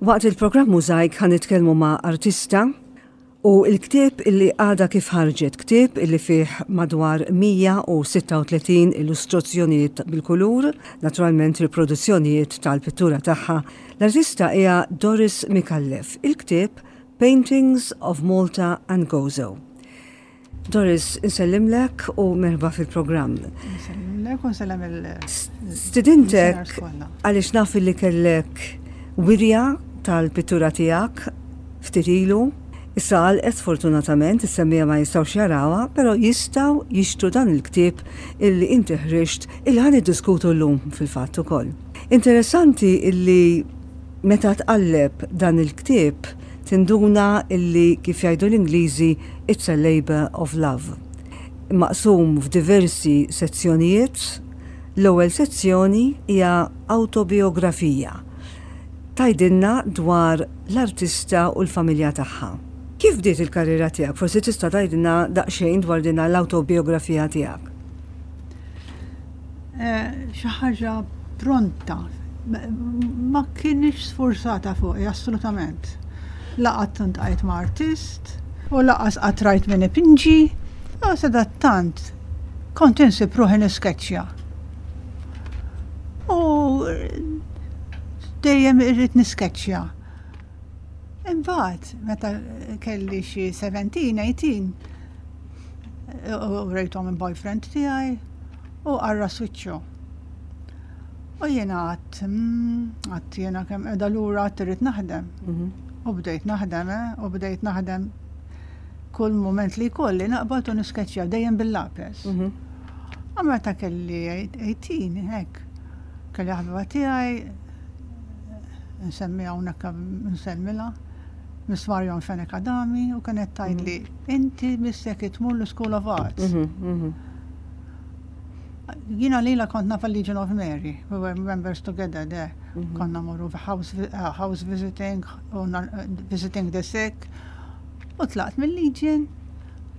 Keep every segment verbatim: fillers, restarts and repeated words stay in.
Waqt il-programm Mużajk ħa nitkellmu ma' artista u il-ktieb illi għada kif ħarġet, ktieb illi fih madwar mija u sitta u tletin illustrazzjonijiet bil-kulur, naturalment riproduzzjonijiet tal-pittura tagħha. L-artista hija Doris Micallef. Il-ktieb Paintings of Malta and Gozo. Doris, insellimlek u merħba fil-programm. Insellimlek u nsellem il- Stidintek listeners kollha. Għaliex naf li kellek wirja tal-pittura tiegħek ftit ilu. Issa għalqet fortunatament, is-semmiegħa ma jistgħux jarawha, però jistgħu jixtru dan il-ktieb illi inti ħriġt, illi ħa niddiskutu llum fil-fatt ukoll. Interessanti illi meta tqalleb dan il-ktieb tinduna illi, kif jgħidu l-Ingliżi, it's a labor of love. Maqsum f'diversi sezzjonijiet. L-ewwel sezzjoni hija autobiografija. Tgħidilna dwar l-artista u l-familja tagħha. Kif bdiet il-karriera tiegħek? Forsi tista' tgħidilna daqsxejn dwar din l-autobiografija tiegħek. Eh, Xi ħaġa pronta. Ma kienx sforzata fuqi, assolutament. La qatt iltqajt ma' artist, u lanqas qatt rajt min ipinġi, u sadattant kont insib ruħi niskeċċja. U dejjem irrid niskeċċja. Imbagħad, meta kelli xi sbatax, tmintax, u rejthom il-boyfriend tiegħi u qarras wiċċu. U jiena għedt, mm, għedt jiena kemm qiegħda lura, għedt irrid naħdem. U bdejt naħdem, eh, u bdejt naħdem kull moment li jkolli naqbad u niskeċċja dejjem bil-lapes. U meta kelli tmintax, hekk, kelli ħabiba tiegħi, nsemmi hawnhekk, nsellmilha, Miss Marion Fenech Adami, u kienet tgħidli, "Inti missek tmur l-School of Arts." Jiena lila kont naf Legion of Mary, we were members together there. Konna morru house, uh, house visiting, u uh, visiting the sick. U tlaqt mill-Legion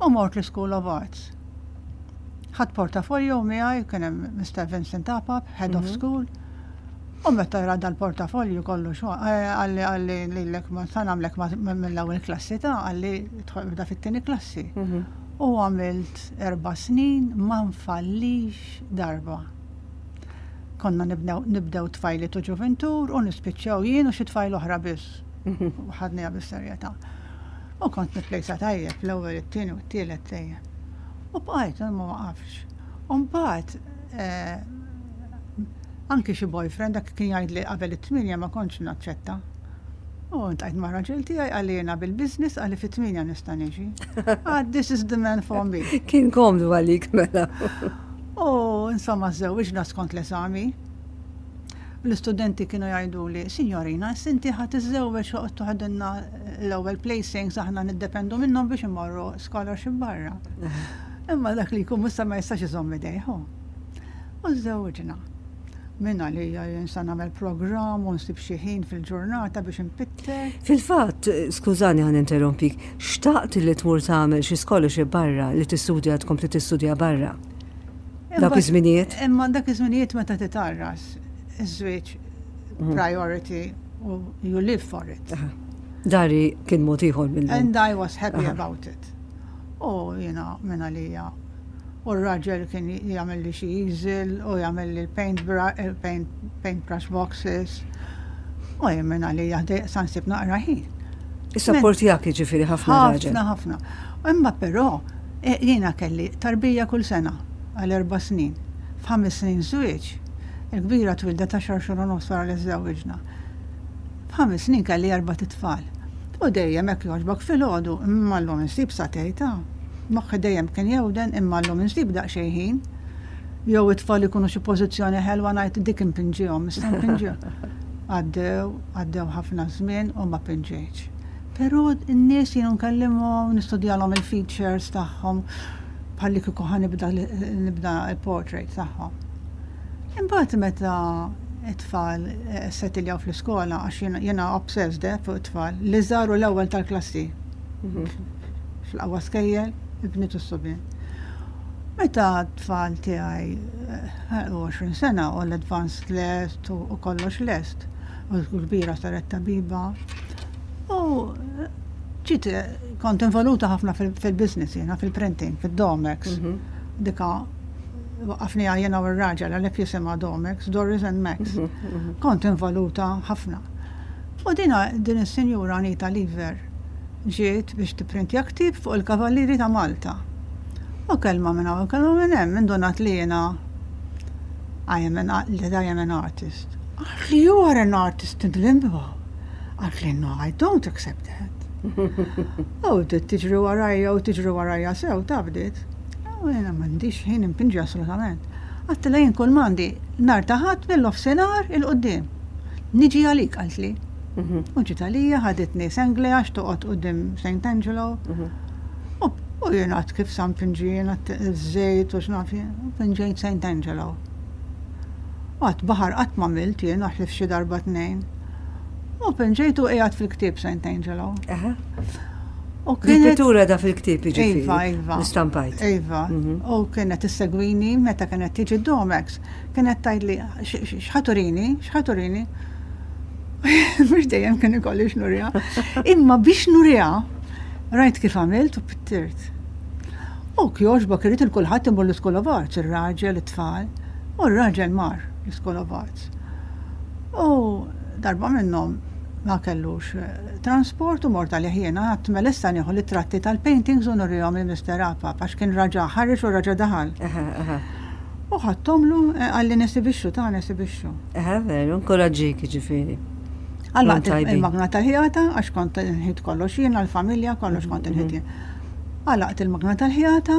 u mort l-School of Arts. Ħadt portafolio miegħi, kien hemm Mister Vincent Apap, Head of School. U meta ra dal-portafolju kollu xo, qalli qalli lilek ma sa nagħmlek mill-ewwel klassi ta', qalli bda fit-tieni klassi. U għamilt erba' snin ma nfallix darba. Konna nibdew, nibdew tfajliet u ġuventur u nispiċċaw jien u xi tfajl oħra biss. U ħadniha bis-serjetà. U kont nipplejsa tajjeb, l-ewwel, it-tieni u t-tielet dejjem. U bqajt ma waqafx. U mbagħad eh, anki xi boyfriend dak kien jgħid li qabel it-tminja ma kontx naċċetta. U ltqajt ma' raġel tiegħi, qalli jiena bil-business, qalli fit-tminja nista' niġi. Ah, this is the man for me. Kien komdu għalik mela. U insomma żżewwiġna skont l-eżami. L-istudenti kienu jgħidu li, "Signorina, inti ħa tiżżewweġ u toħodilna l-ewwel placings, aħna niddependu minnhom biex imorru scholarship barra." Imma dak li jkun musta ma jistax iżomm idejh. U żżewwiġna. Minna li jinsa nagħmel program u nsib xi ħin fil-ġurnata biex npitter. Fil-fatt, skużani ħa ninterrompik, xtaqt li tmur tagħmel xi scholarship barra, li tistudja, tkompli tistudja barra? Dak iż-żminijiet? Imma dak iż-żminijiet meta titgħarras, iż-żwieġ priority u you live for it. Dari kien mod ieħor mill And I was happy about it. U jiena minna lija. U r-raġel kien jagħmel li xi easel u jagħmel li l-paint paint, paintbrush boxes. U jien minna lija sa nsib naqra ħin. Is-support tiegħek jiġifieri ħafna raġel. Ħafna, ħafna. Imma però eh, jiena kelli tarbija kull sena għal erba' snin. F'ħames snin żwieġ, il-kbira twildet għaxar xhur u nofs wara li żżewwiġna. F'ħames snin kelli erbat itfal. U dejjem hekk jogħġbok filgħodu, imma llum insib sagħtejn ta'. Moħħi dejjem kien jewden, imma llum insib daqsxejn ħin. Jew it-tfal ikunu xi pożizzjoni ħelwa, ngħid dik impinġihom, issa npinġihom. Għaddew, għaddew ħafna żmien u ma pinġejtx. Però n-nies jien nkellimhom, nistudjalhom il-features tagħhom bħalli kieku ħa nibda nibda il-portrait tagħhom. Imbagħad meta it-tfal eh, settiljaw fl-iskola, għax jiena- jiena obsessed eh, fuq it-tfal, li żaru l-ewwel tal-klassi. Fl-aqwa skejjel, il-bniet u s-subien. Meta t-tfal tiegħi eh, għoxrin sena u l-advanced lest u u kollox lest, U kbira saret tabiba. U ġiet kont involuta ħafna fil-business jiena, fil-printing, fil-Domex. Mhm. Dika waqqafni jiena u r-raġel għalhekk jisimha Domex, Doris and Max. Mhm, mhm. Kont involuta ħafna. U dina din is-sinjura Anita Lever ġiet biex tipprintja ktieb fuq il-Kavallieri ta' Malta. U kelma minn hawn, kelma minn hemm, indunat li jiena I am an, that I am an artist. Qaltli, "You are an artist in limbo." Qaltli, "No, I don't accept that." U bdiet tiġri warajja u tiġri warajja sew ta' bdiet. U jiena m'għandix ħin impinġi assolutament. Għedtilha jien kull m'għandi nhar ta' Ħadd mill-nofsinhar 'il quddiem. Niġi għalik, qaltli. Mhm. U ġiet għalija, ħaditni Senglea għax toqgħod quddiem Saint Angelo. Mhm. U jiena għad kif sa mpinġi jiena żejt u x'naf jien, u pinġejt Saint Angelo. Għad baħar qatt ma għamilt jien ħlief xi darba tnejn. U pinġejtu qiegħed fil-ktieb Saint Angelo. Aha. U kienet Il-pittura da fil-ktieb jiġifieri. Iva, iva. L-istampajt. Iva, Mhm. u kienet issegwini meta kienet tiġi Domex, kienet tgħidli x'ħa turini, x'ħa turini. Mhux dejjem kien ikolli x'nuriha. Imma biex nuriha, rajt kif għamilt u pittirt. U kjoġbok irrid 'il kulħadd imur l-School of Arts, ir-raġel, it-tfal, u r-raġel mar l-School of Arts. U darba minnhom ma kellux eh, transport u mort għalih jiena, għedt mela issa nieħu l-tratti tal-paintings u nurihom lil Mister Apap għax kien raġa ħareġ u raġa daħal. Aha, aha. U ħadthomlu, eh, qalli nesibixxu ta' nesibixxu. Aha, veru, inkoraġġik jiġifieri. Għallaqt tajbin. il-magna tal-ħjata għax kont nħit kollox jiena l-familja, kollox kont nħit jien. Għalaqt il-magna tal-ħjata,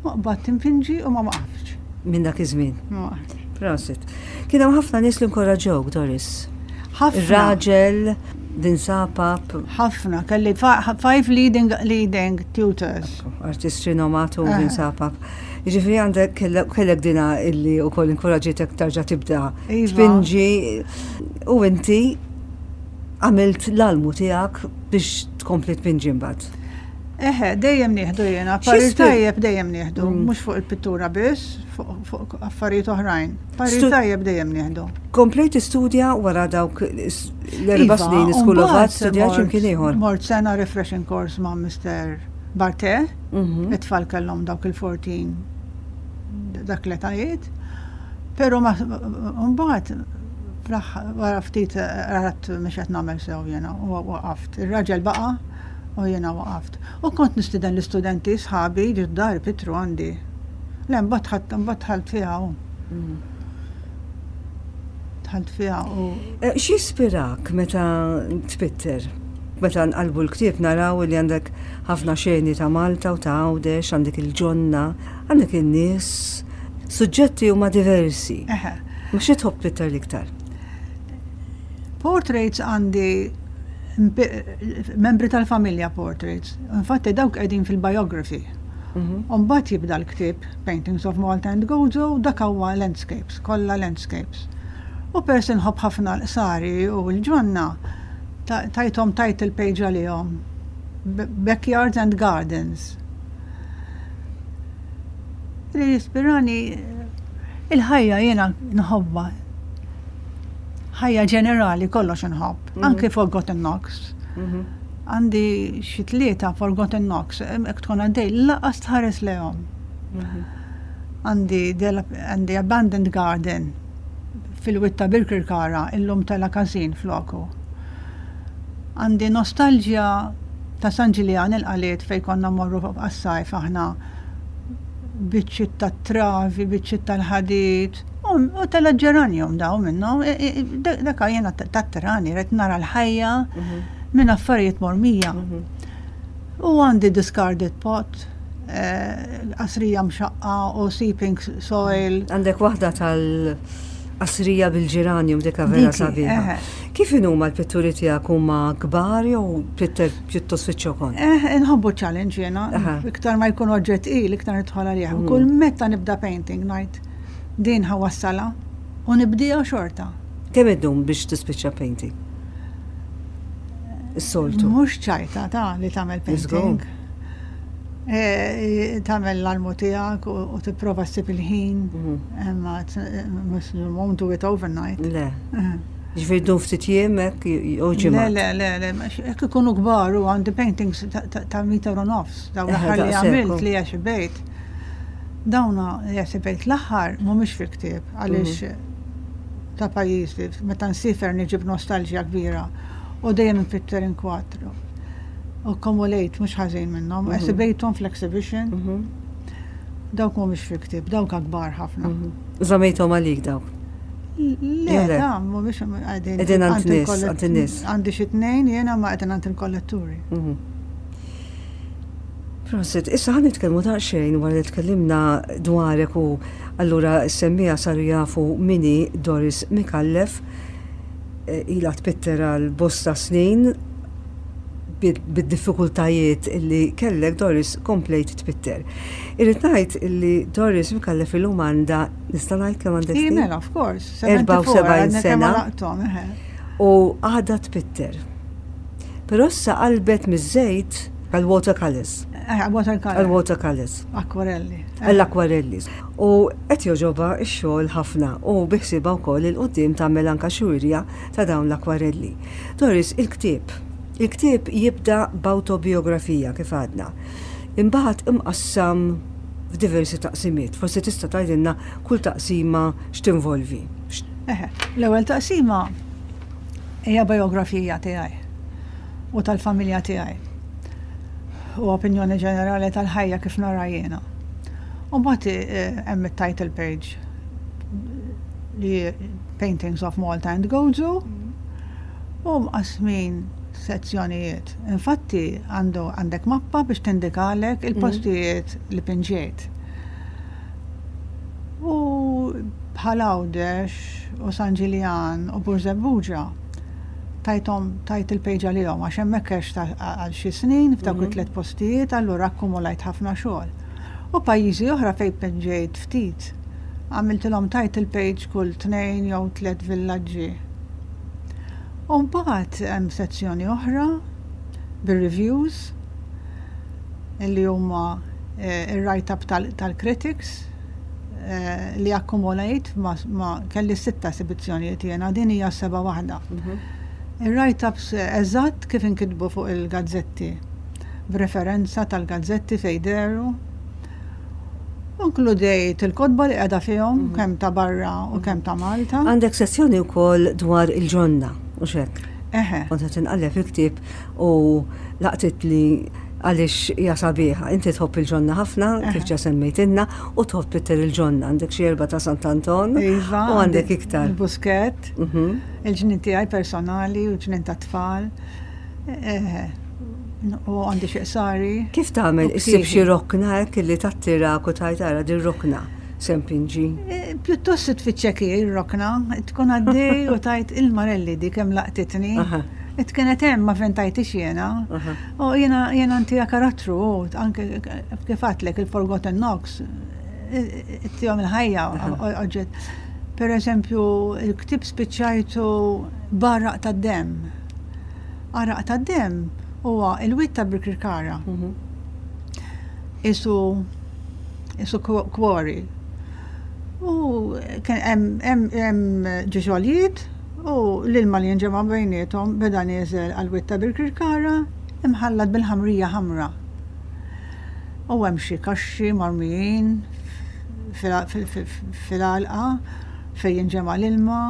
u qbadt impinġi u ma waqaftx. Minn dak iż-żmien. Ma waqaftx. Prosit. Kien hemm ħafna nies li inkoraġġewk, Doris. Ħafna. Ir-raġel, Vince Apap, Ħafna, kelli fi- five leading, leading tutors. Artist rinomatu Eh. Vince Apap. Jiġifieri għandek kellek kellek dina illi wkoll inkoraġġitek tarġa' tibda Iva. tpinġi u inti għamilt l-almu tiegħek biex tkompli tpinġi mbagħad. Eħe, dejjem nieħdu jiena, parir X'jispir- tajjeb dejjem nieħdu, Mm. mhux fuq il-pittura biss, fuq fuq affarijiet oħrajn. Parir Stu- tajjeb dejjem nieħdu. Komplejt tistudja wara dawk l-erba' Iva, snin School of u Arts, mbagħad studjat mort- x'imkien ieħor. Mort sena refreshing course ma' Mister Barte, Mhm. it-tfal kellhom dawk il-erbatax dak l-etajiet. Pero ma mbagħad fl-aħħar- wara ftit rat mhux qed nagħmel sew jiena u waqaft. Ir-raġel baqa' u jiena waqaft. U kont nistiden l-istudenti sħabi ġid dar pittru għandi. Le mbagħad ħadd mbagħad dħalt fiha u Mhm. dħalt fiha u Eh, X'jispirak meta tpitter? Meta nqalbu l-ktieb naraw li għandek ħafna xeni ta' Malta u ta' Għawdex, għandek il-ġonna, għandek in-nies, suġġetti huma diversi. Eħe. Ma xi tħobb tpitter l-iktar? Portraits għandi mp- membri tal-familja portraits. Infatti dawk qegħdin fil-biography. Mhm. Umbagħad jibda l-ktieb Paintings of Malta and Gozo, dak huwa landscapes, kollha landscapes. U peress inħobb ħafna l-qsari u l-ġonna, ta- tajthom title page għalihom. B- Backyards and Gardens. Li jispirani il-ħajja jiena nħobbha. Ħajja ġenerali kollox nħobb, Mhm. anki Forgotten Nooks. Mhm. Għandi xi tlieta Forgotten Nooks, hekk tkun għaddej, lanqas tħares lejhom. Mhm. Għandi del- għandi Abandoned Garden fil-wied ta' Birkirkara, illum tela' każin floku. Għandi nostalġja ta' San Ġiljan il-Qaliet fej konna morru għas-sajf aħna, biċċiet ta' travi, biċċiet tal-ħadid, u u tela' ġeranjum daw minnhom, e- e- e- dak jiena tat-tirani, rrid nara l-ħajja Mhm. minn affarijiet mormija. Mhm. U għandi discarded pot, eh, qasrija mxaqqa u seeping soil. Għandek waħda tal-qasrija bil-ġeranjum, dika vera Diki, sabiħa. eħe. Kif inhuma l-pitturi tiegħek, huma kbar jew tpitter pjuttost fiċ-ċokon? Eh, nħobbu challenge jiena, Aha. iktar ma jkun oġġett il, iktar nidħol għalih. U Mm. kull meta nibda painting ngħid din ħa nwassalha u nibdija xorta. Kemm iddum biex tispiċċa painting? Is-soltu. Mhux ċajta ta' li tagħmel Let's go. painting. Eh, Tagħmel l-almu tiegħek u u tipprova ssib il-ħin, Mhm. imma it's- mhux you won't do it overnight. Le. Eh. Ġifieri dun ftit jiem hekk jew ġimgħa. Le, le, le, le, hekk ikunu kbar u għandi paintings ta' meter u nofs, dawn l-aħħar li għamilt li esibejt. Dawna li esibejt l-aħħar mhumiex fil-ktieb għaliex mhm. ta' pajjiżi, meta nsifer niġib nostalġija kbira u dejjem npitter inkwatru. U akkumulejt mhux ħażin minnhom, mhm. esibejthom fl-exhibition. Mhm. Dawk mhumiex fil-ktieb, dawk akbar ħafna. Żamejthom għalik dawk? Le, ta' mhumiex qegħdin. Qegħdin għand nies, għand in-nies. Għandi xi tnejn jiena ma qegħdin għand il-kolletturi. Mhm. Prosit, issa ħa nitkellmu daqsxejn wara li tkellimna dwarek u allura s-semmiegħa saru jafu min hi Doris Micallef, eh, ilha tpitter għal bosta snin bid-diffikultajiet illi kellek Doris komplejt tpitter. Irrid ngħid illi Doris Micallef illum għandha nista' ngħid kemm għandek snin? Mela, of course. erbgħa u sebgħin sena. U għadha tpitter. Però issa qalbet miż-żejt għal watercolors. Eh, watercolors. Għal watercolors. Akwarelli. Għall-akwarelli. U qed jogħġobha x-xogħol ħafna u biħsiebha wkoll 'il quddiem tagħmel anka xi wirja ta' dawn l-akwarelli. Doris, il-ktieb. Il-ktieb jibda b'awtobiografija kif għadna. Imbagħad imqassam f'diversi taqsimiet. Forsi tista' tgħidilna kull taqsima x'tinvolvi. Eħe, l-ewwel taqsima hija biografija tiegħi u tal-familja tiegħi. U opinjoni ġenerali tal-ħajja kif nara jiena. U mbagħad eh, hemm it-title page li Paintings of Malta and Gozo u mqasmin sezzjonijiet. Infatti għandu għandek mappa biex tindikalek il-postijiet li pinġejt. U bħal Għawdex u San Ġiljan u Birżebbuġa tajthom tajt il-page għalihom għax hemmhekk għext għal xi snin f'dawk it-tliet postijiet, allura akkumulajt ħafna xogħol. U pajjiżi oħra fejn pinġejt ftit, għamiltilhom title page kull tnejn jew tliet villaġġi. U mbagħad hemm sezzjoni oħra bir-reviews illi huma eh, ir-write-up tal-critics eh, li akkumulajt ma, ma kelli sitta esibizzjonijiet jiena, din hija seba' waħda. Mhm. Il-write-ups eżatt kif inkitbu fuq il-gazzetti, b'referenza tal-gazzetti fejn dehru. Inkludejt il-kotba li qiegħda fihom, mhm. kemm ta' barra u kemm ta' Malta. Għandek sezzjoni wkoll dwar il-ġonna, u hekk. Eħe. Kont qed inqalleb il-ktieb u laqtit li għaliex hija sabiħa. Inti tħobb il-ġonna ħafna, kif ġa semmejtilna, u tħobb tpitter il-ġonna. Għandek xi erba' ta' Sant'Anton Iva, u għandek iktar. Il-Buskett, Mhm. il-ġnien tiegħi personali u l-ġnien ta' tfal. Eħe. U għandi xi qsari. Kif tagħmel U issib xi ktieb. rokna hekk li tattirak u tgħid ara din rokna se npinġi? E, Pjuttost tfittxek ir-rokna, tkun għaddej u tgħid il-marelli di kemm laqtitni. Aha. It kienet hemm ma vventajthiex jiena. Aha. U jiena jiena ntiha karattru, u anke kif għedtlek il-Forgotten Knocks, ittihom il-ħajja oġġett. Per eżempju, il-ktieb spiċċajtu b'għaraq ta' demm. Għaraq ta' demm huwa il-wied ta' Birkirkara. Mhm. Isu isu quarry. U kien hemm hemm hemm ġiġolijiet u l-ilma li jinġema' bejniethom beda nieżel għal-wied ta' Birkirkara imħallat bil-ħamrija ħamra. U hemm xi kaxxi marmijin fil-għalqa fejn jinġema' l-ilma,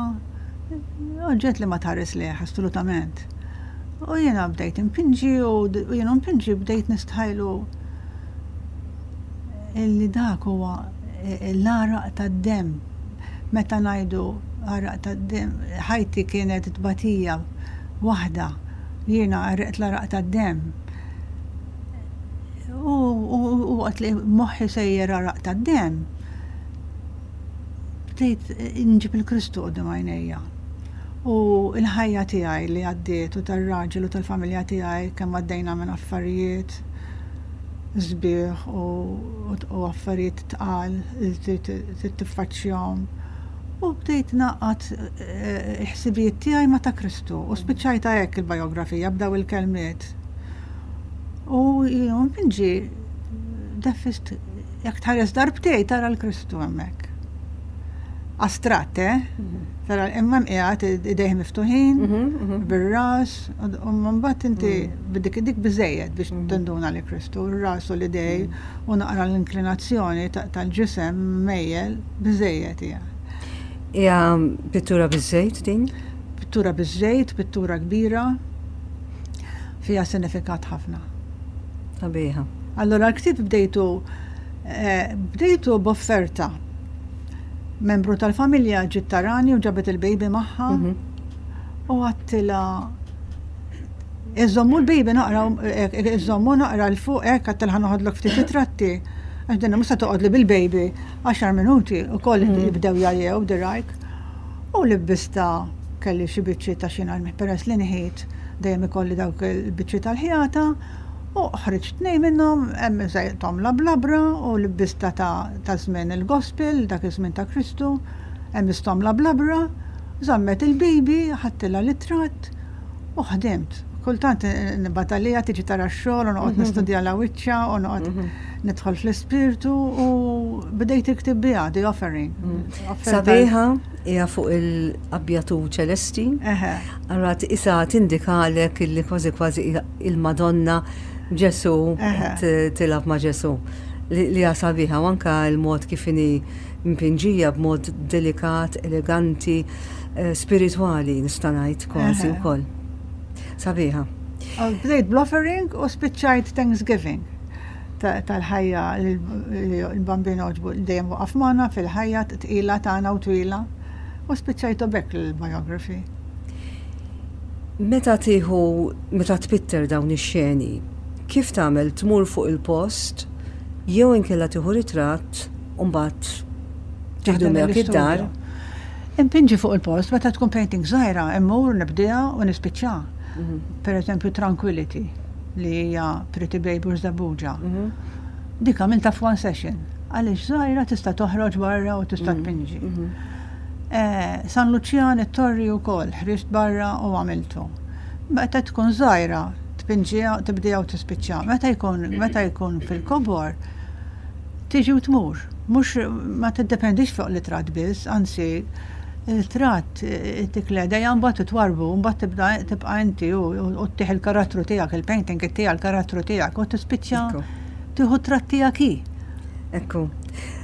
oġġett li ma tħares lejh assolutament. U jiena bdejt impinġi u jiena impinġi bdejt nistħajlu illi dak huwa l-għaraq tad-demm. Meta ngħidu għaraq tad-demm, ħajti kienet tbatija waħda, jiena għaraqt l-għaraq tad-demm. U waqt li moħħi sejjer għaraq tad-demm, bdejt nġib il-Kristu quddiem għajnejja. U l-ħajja tiegħi li għaddiet u tar-raġel u tal-familja tiegħi kemm għaddejna minn affarijiet sbieħ u affarijiet tqal li trid tiffaċċjahom. U bdejt ngħaqqad il-ħsibijiet tiegħi ma' ta' Kristu u spiċċajta hekk il-biografija b'daw il-kelmiet. U jiena npinġi deffist jekk tħares darbtejn tara l-Kristu hemmhekk. Astratt, eh? Tara, imma mqiegħed idejh miftuħin, bir-ras, u mbagħad inti b'dik dik biżejjed biex tinduna li Kristu, ir-ras u l-idej u naqra l-inklinazzjoni tal-ġisem mejjel biżejjed hija. Hija pittura biż-żejt din? Pittura biż-żejt, pittura kbira, fiha sinifikat ħafna. Sabiħa. Allora l-ktieb bdejtu eh, bdejtu b'offerta. Membru tal-familja ġiet tarani u ġabet il-baby magħha u għedtilha iżommu l-baby naqra, iżommu naqra 'l fuq hekk, għedtilha, "Noħodlok ftit ritratti." Għax dinna musa toqgħod li bil-baby għaxar minuti u koll jibdew jgħajjew dirajk. U libbistha, kelli xi biċċi ta' xi peress li nħit dejjem ikolli dawk il-biċċi tal-ħjata u ħriġt tnejn minnhom, hemm żejthom la blabra u libbistha ta' ta' żmien il-gospel, dak iż-żmien ta' Kristu, hemm istom la blabra, żammet il-baby, ħadtilha ritratt u ħdimt. Kultant nibgħatha tiġi tara x-xogħol u noqgħod nistudja la wiċċa u noqgħod nidħol fl-ispirtu u bdejt iktib biha, The Offering. Offerta- Sabiħa, hija fuq il-abjad u ċelesti. Eħe. Allora isa tindikalek illi kważi kważi hija il-Madonna Ġesu Eħe. t- tilgħab ma' Ġesu. Li li hija sabiħa u anka l-mod kif inhi mpinġija b'mod delikat, eleganti, eh, spiritwali nista' ngħid kważi Eħe. wkoll. Sabiħa. U bdejt bl-offering u spiċċajt Thanksgiving ta- tal-ħajja li l-Bambin għoġbu dejjem waqaf magħna fil-ħajja tqila tagħna u twila u spiċċajtu b'hekk il-biography. Meta tieħu, meta tpitter dawn ix-xeni, kif tagħmel, tmur fuq il-post jew inkella tieħu ritratt u mbagħad tieħdu Taħdem miegħek id-dar? l-istudio. Impinġi fuq il-post, meta tkun painting żgħira, immur nibdija u nispiċċa. Per eżempju, Tranquility, li hija Pretty Baby Żebbuġa. Dik għamilta f'one session. Għaliex żgħira, tista' toħroġ barra u tista' tpinġi. Eh, San Lucian, it-torri wkoll, ħriġt barra u għamiltu. Meta tkun żgħira, tpinġiha, tibdija u tispiċċa. Meta jkun meta jkun fil-kobor, tiġi u tmur. Mhux ma tiddependix fuq l-ritratt biss, anzi il-ritratt tikle dejjem mbagħad titwarbu, mbagħad tibda tibqa' inti u u ttih il-karattru tiegħek, il-painting tiegħek il-karattru tiegħek u tispiċċa Ekku. tieħu tratt tiegħek hi. Ekku.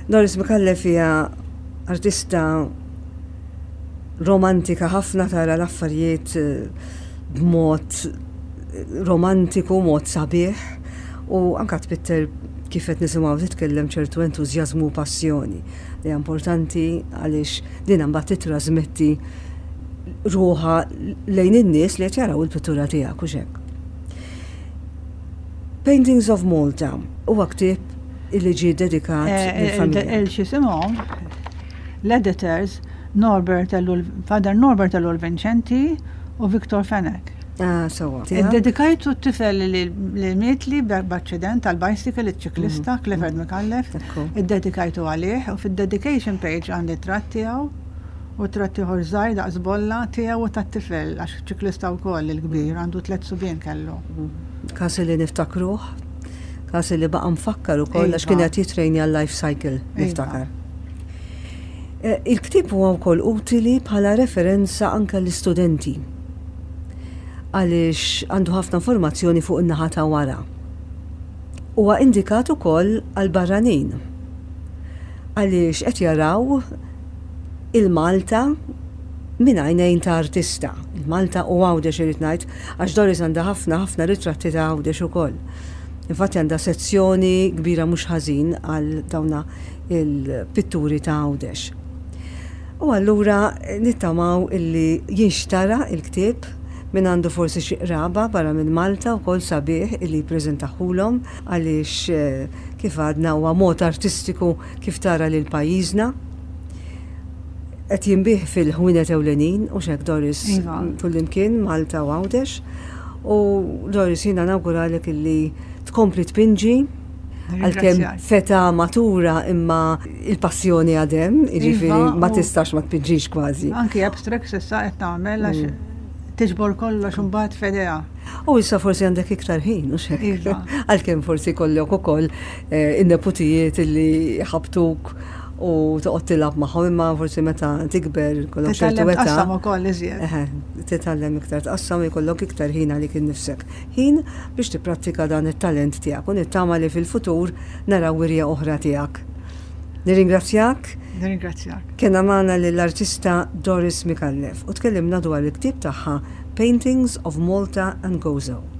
Doris Micallef hija artista romantika ħafna, tara l-affarijiet eh, b'mod eh, romantiku, mod sabiħ u anka tpitter, kif qed nisimgħu titkellem, ċertu entużjażmu u passjoni li hija importanti għaliex din mbagħad titrasmetti ruħa lejn in-nies li qed jaraw il-pittura tiegħek u hekk. Paintings of Malta huwa ktieb illi ġie dedikat lill-familja. Il-xisimhom, l-editors Norbert Ellul, Father Norbert Ellul Vincenti u Victor Fenech. Ah, sewwa. Dedikajtu t-tifel li li mietli b'accident tal-bicycle, il-ċiklista, Clifford Micallef. Ekku. Iddedikajtu għalih u fid-dedication page għandi tratt tiegħu u tratt ieħor żgħir daqs bolla tiegħu u tat-tifel għax ċiklista wkoll il-kbir, għandu tliet subien kellu. Każ li niftakruh, każ li baqa' mfakkar ukoll għax Iva. kien qed jitrejni għal life cycle, Iva. niftakar. Eh, Il-ktieb huwa wkoll utili bħala referenza anke l-istudenti għaliex għandu ħafna informazzjoni fuq in-naħa ta' wara. Huwa indikat ukoll għal barranin għaliex qed jaraw il-Malta minn għajnejn ta' artista. Il-Malta u Għawdex irid ngħid, għax Doris għandha ħafna ħafna ritratti ta' Għawdex ukoll. Infatti għandha sezzjoni kbira mhux ħażin għal dawna il-pitturi ta' Għawdex. U allura nittamaw illi jinxtara il-ktieb minn għandu forsi xi qraba barra minn Malta wkoll, sabiħ illi jippreżentahulhom għaliex eh, kif għadna huwa mod artistiku kif tara lil pajjiżna. Qed jinbiegħ fil-ħwienet ewlenin u hekk, Doris, Iva. kullimkien Malta u Għawdex. U Doris, jiena nawguralek illi tkompli tpinġi għalkemm Ringrazzjak. feta matura, imma il-passjoni għadha, jiġifieri Iva, ma u- tistax ma tpinġix kważi. Anki abstract issa qed nagħmel għax tiġbor kollox imbagħad f'idea. U issa forsi għandek iktar ħin, u hekk. Iva. Għalkemm forsi kollok ukoll eh, in-neputijiet illi ħabtuk U toqgħod tilgħab magħhom, imma forsi meta tikber ikollok ċertu Titgħallem età. Tqassam ukoll iżjed. Eħe, titgħallem iktar tqassam u jkollok iktar ħin għalik innifsek. Ħin biex tipprattika dan it-talent tiegħek u nittama li fil-futur naraw wirja oħra tiegħek. Nirringrazzjak. Nirringrazzjak. Kellna magħna lill-artista Doris Micallef u tkellimna dwar il-ktieb tagħha Paintings of Malta and Gozo.